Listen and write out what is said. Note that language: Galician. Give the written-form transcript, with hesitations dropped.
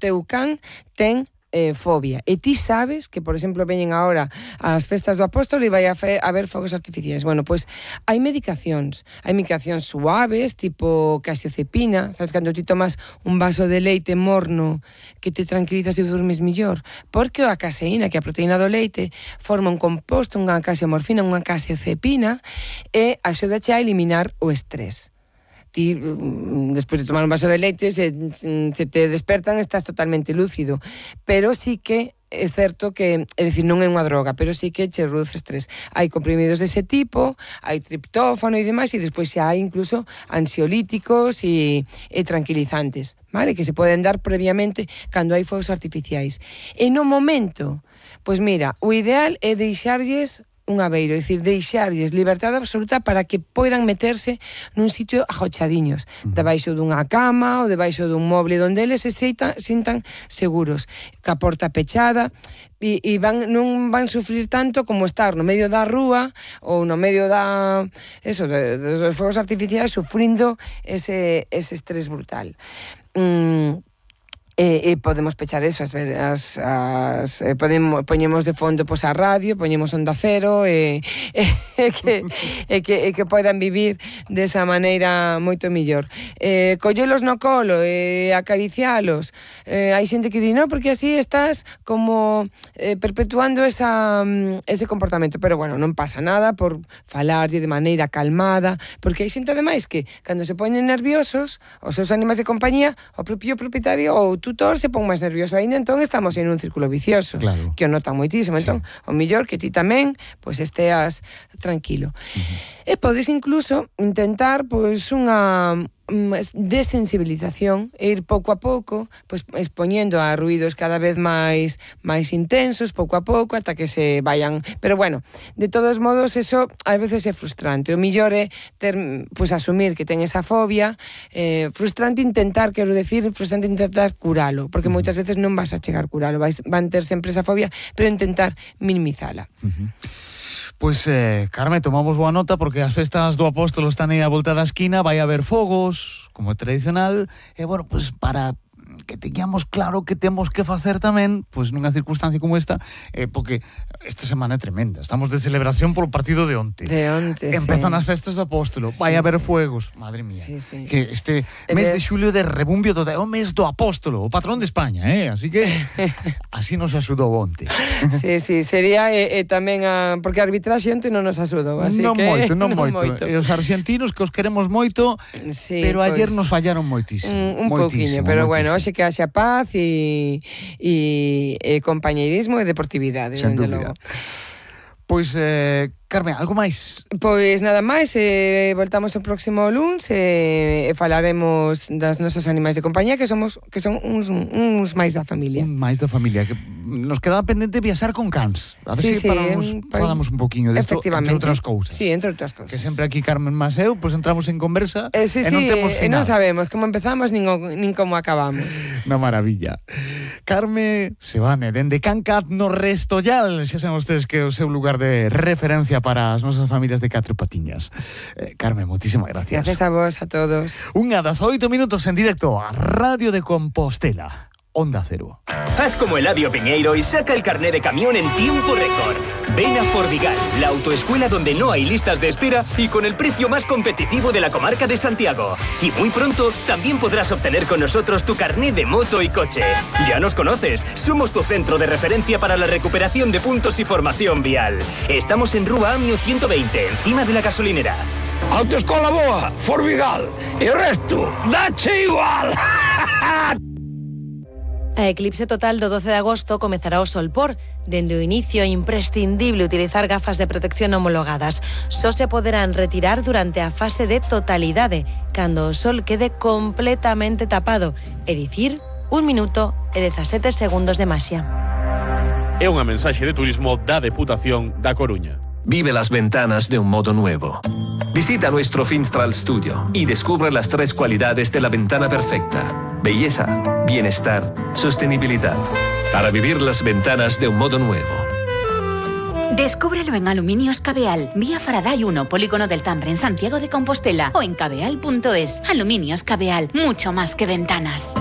teu can ten fobia. E ti sabes que, por exemplo, veñen agora as festas do Apóstolo e vai haber fogos artificiais. Bueno, pois hai medicacións suaves, tipo casiozepina, sabes, cando ti tomas un vaso de leite morno que te tranquilizas e durmes millor, porque a caseína, que é a proteína do leite, forma un composto, unha casiomorfina, unha casiozepina, e axudache a eliminar o estrés. Ti, despois de tomar un vaso de leite, se te despertan, estás totalmente lúcido. Pero sí que é certo que, é dicir, non é unha droga, pero sí que che reduce estrés. Hai comprimidos dese tipo, hai triptófano e demais, e despois xa hai incluso ansiolíticos e tranquilizantes, vale? Que se poden dar previamente cando hai fogos artificiais. E no momento, pois mira, o ideal é deixarlles un abeiro, é dicir, deixarlles liberdade absoluta para que poidan meterse nun sitio ajochadiños, debaixo dunha cama ou debaixo dun moble donde eles se sintan seguros, ca porta pechada, e non van sufrir tanto como estar no medio da rúa ou no medio dos fogos artificiais sufrindo ese estrés brutal. E podemos pechar eso, poñemos de fondo pois a radio, poñemos Onda Cero e que poidan vivir desa maneira moito mellor. Collelos no colo e acaricialos. Hai xente que di, no, porque así estás como perpetuando ese comportamento, pero bueno, non pasa nada por falarlle de maneira calmada, porque hai xente ademais que cando se poñen nerviosos os seus animais de compañía, o propio propietario ou tutor se pon máis nervioso aínda, entón estamos en un círculo vicioso, claro, que o notan moitísimo. Entón, o mellor que ti tamén pois esteas tranquilo. E podes incluso intentar pois unha desensibilización e ir pouco a pouco pois expoñendo a ruídos cada vez máis intensos, pouco a pouco, ata que se vayan. Pero bueno, de todos modos, eso a veces é frustrante. O mellor é ter, pois asumir que ten esa fobia, frustrante intentar curalo, porque moitas veces non vas a chegar a curalo, van ter sempre esa fobia, pero intentar minimizala. Pois, Carme, tomamos boa nota porque as festas do Apóstolo están aí a volta da esquina, vai haber fogos, como é tradicional, e, bueno, pois, para que teñamos claro que temos que facer tamén, pois nunha circunstancia como esta, porque esta semana é tremenda. Estamos de celebración polo partido de onte. Empezan as festas do Apóstolo, vai haber fuegos, madre mía. Que este mes de xulio de rebumbio total, é o mes do Apóstolo, o patrón de España, así que así nos axudou onte. Sí, sería tamén porque a arbitraxe onte non nos axudou, así non que non moito. E os argentinos que os queremos moito, pero ayer nos fallaron moitísimo. Un pouquiño, pero bueno, hoxe que haxa paz e compañeirismo e deportividade, dende logo. Pois, Carme, algo máis? Pois nada máis, voltamos o próximo luns e falaremos das nosas animais de compañía que son uns máis da familia. Un máis da familia, que nos quedaba pendente viaxar con cans. A ver se falamos un poquinho disto, entre outras cousas. Sí, entre outras cousas. Que sempre aquí Carmen mas eu, pois entramos en conversa e non temos final. E non sabemos como empezamos nin como acabamos. Na maravilla. Carme Sebane, dende Cancat no Restollal, xa saben ustedes que é o seu lugar de referencia para as nosas familias de catro patiñas. Carmen, moitísimas gracias. Gracias a vos, a todos. Unha das 8 minutos en directo a Radio de Compostela. Onda Cero. Haz como Eladio Piñeiro y saca el carné de camión en tiempo récord. Ven a Forvigal, la autoescuela donde no hay listas de espera y con el precio más competitivo de la comarca de Santiago. Y muy pronto también podrás obtener con nosotros tu carné de moto y coche. Ya nos conoces, somos tu centro de referencia para la recuperación de puntos y formación vial. Estamos en Rúa Amio 120, encima de la gasolinera. Autoescola boa, Forvigal, e o resto, dache igual. A eclipse total do 12 de agosto comezará o solpor. Dende o inicio é imprescindible utilizar gafas de protección homologadas. Só se poderán retirar durante a fase de totalidade, cando o sol quede completamente tapado, é dicir, 1 minuto e 17 segundos de maxia. É unha mensaxe de turismo da Deputación da Coruña. Vive las ventanas de un modo nuevo. Visita nuestro Finstral Studio y descubre las 3 cualidades de la ventana perfecta: belleza, bienestar, sostenibilidad. Para vivir las ventanas de un modo nuevo. Descúbrelo en Aluminios Cabeal, vía Faraday 1, Polígono del Tambre, en Santiago de Compostela, o en cabeal.es. Aluminios Cabeal, mucho más que ventanas.